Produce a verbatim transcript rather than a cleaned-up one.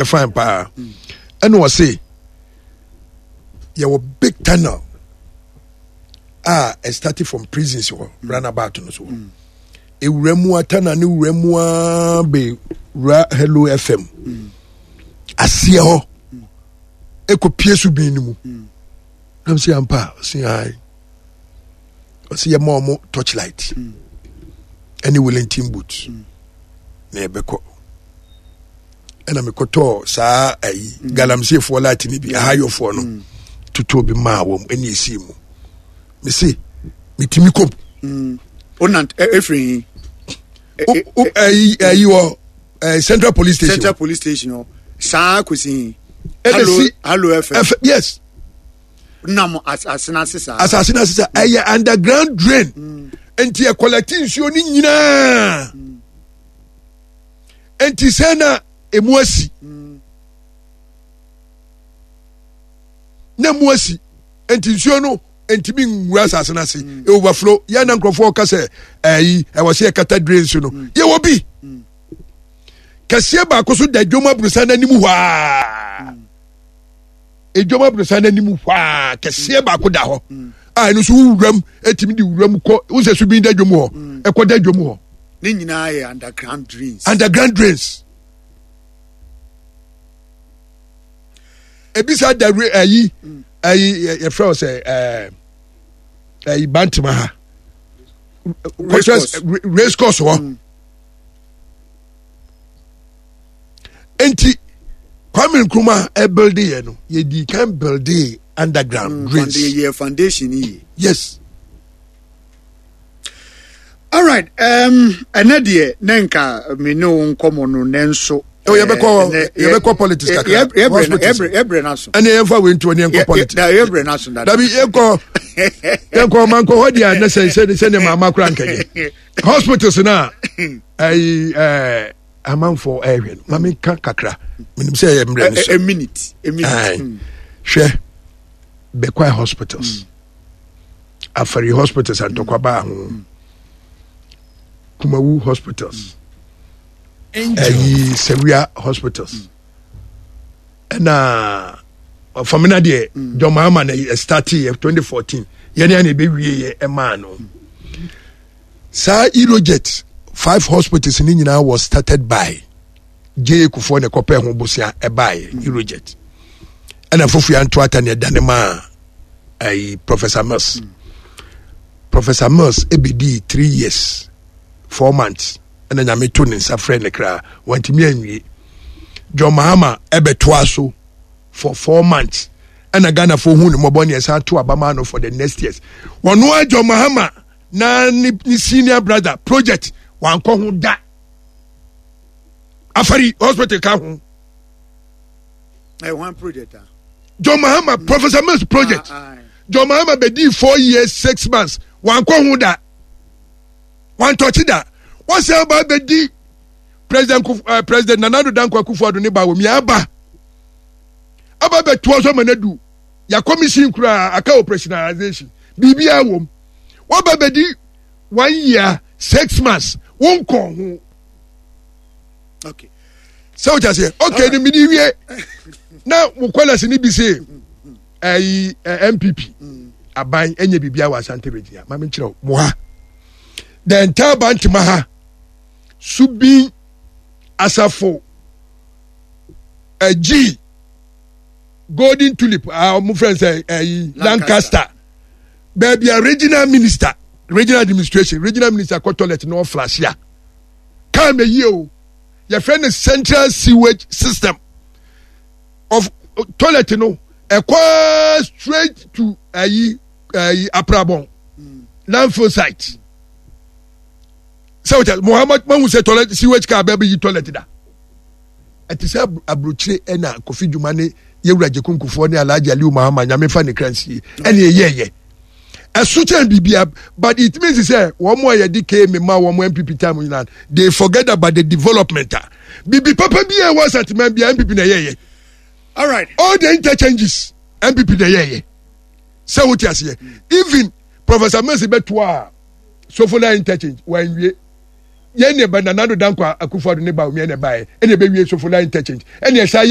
Fine paa. Ɛna ɔse yɛwɔ big tunnel a ɛstart from prisons hɔ, runabout no so hɔ, ewura mu a, tunnel ne wura mu a bɛ wura Hello F M aseɛ hɔ, ɛkɔ pie so bin no mu. Nam sɛ ampa? Ɔse ae. Ɔse yɛma ɔmo torchlight ɛne Wellington boot na yɛbɛkɔ. Ɛna mekɔtɔɔ saa ayi mm. galamseyfoɔ light no bi, ahayɔfoɔ no mm. totoo bi maa wɔm ɛne ɛsii mu. Mese metumi kɔm. Ɛfiri ayi ayi wɔ Central Police Station. Central Police Station hɔ saa kɔsi Hello, Hello F M. Yes. Nam asase n'ase saa. Asase n'ase saa. Ɛyɛ underground drain mm. Nti ɛcollect nsuo no nyinaa mm. Nti sɛ na emu asi mm. na emu asi, nti nsuo no ntumi nwura asase n'ase mm. Overflow yɛn na nkurɔfoɔ ka sɛ ɛyi ɛwɔ sɛ yɛkata drain so no mm. Yɛwɔ bi mm. kɛseɛ baako so da dwom aburusa n'anim hɔ aa, edwom aburusa n'anim hɔ aa, kɛseɛ baako da hɔ a ɛno nso wuram etumi de wuram kɔ wosɛ so bi da dwom hɔ, ɛkɔ da dwom hɔ. Ne nyinaa yɛ underground drains. Underground drains. Ebi sa da ayi ayi yɛfrɛ wɔ sɛ ɛɛ ɛyi Bantama ha race course hɔ mm. Nti Kwame Nkrumah ɛbuilde yɛ no, yɛdi kan builde underground mm, drains. Yɛ foundation yi. Yes. Alright, um, ɛnɛ deɛ ne nka me ne wo nkɔmmɔ no nanso Oh, yɛbɛkɔ yɛbɛkɔ politics kakra. Yɛbrɛ no so. Ɛne yɛmfa wei ntoɔ ne yɛnkɔ politics. Yɛbrɛ no so. Dabi, yɛnkɔ yɛnkɔ mankɔ hɔ deɛ ne sɛ sɛ sɛ ne maama kora nkɛyɛ hospitals no a ɛyi ɛɛ amanfoɔ ɛɛhwɛ no, ma menka kakra. Menim sɛ ɛyɛ mmerɛ no so. A minute, a minute. Hwɛ, Bɛkwae hospitals mm. Afari hospitals, antɔkwa baa ho, Kumawu hospitals, ɛyi Sawia hospitals, ɛna Famina deɛ John Mahama na ɛstarte yɛ twenty fourteen, yɛne ana ɛbɛwie yɛ ɛmaa no saa Eurojet. Five hospitals ne nyinaa was started by J A Kufuor ne kɔpɛ ho bosea ɛbaeɛ Eurojet, ɛna foforɔ anto ata ne ɛda ne maa ayi Professor Mills mm. Professor Mills ebedi three years four months ɛna Nyame to ne nsa frɛ ne kra, wantumi anwie. John Mahama ɛbɛtoa so for four months ɛna Ghanafoɔ hu ne mmɔbɔ ne ɛsan to abama no for the next years. Wɔn a John Mahama na ne ne senior brother project wankɔ ho da. Afari hospital ka ho. Ɛ one project ah. John Mahama mm. Professor Mills project ah, ah. John Mahama bɛdi four years six months wankɔ ho da, wantɔkye da. Wɔsɛn ba bɛdi President Kuf uh, President Nana Addo Dankwa Akufo-Addo ne ba wɔ mi aba aba bɛtoa so ama no adu yɛ commission koraa aka operationalization biribiara wɔ mu. Wɔba bɛdi one year six months wɔnkɔ ho. Okay sɛ o kyɛ okay ni mi di wie na mo kɔlɛsi ni bi se ɛyi N P P aban ɛnyɛ biribi awɔ Asante Region a, maame nkyerɛw mo ha, the entire Bantama ha, Subin, Asafo, ɛgyi Golden Tulip a wɔn fɛn sɛ ɛyi Lancaster, baabi a regional minister, regional administration, regional minister kɔ toilet na ɔflush a kaa mɛ yie o, yɛfrɛ no central sewage system of toilet no, ɛkɔ straight to ayi ayi Aprabɔn landfill site. Sɛ o Muhammad mahu sɛ toilet sewage car bɛɛ bɛ yi toilet da, ɛte sɛ aburokyire. Ɛna Kofi Dwuma ne yɛwura Gyekunkufoɔ ne Alhaji Aliu Mahama, Nyame fa ne kra nsie, ɛne ɛyɛɛyɛ ɛso kyɛn biribia. But it means sɛ wɔn a yɛde kee me ma wɔn N P P time nyinaa, they forget about the development a bibi papa bi a ɛwɔ Asanteman bia, N P P na ɛyɛɛyɛ. All right. All the interchanges, N P P na ɛyɛɛyɛ. Sɛ wote aseɛ, even Professor Mills bɛtoa a Sofoline interchange wanwie. Yɛn ne ba Nana Addo Dankwa Akufo Addo ne ba omiɛ ne ba yɛ, ɛna ɛbɛwie Sofoline Interchange, ɛna ɛsa yɛ.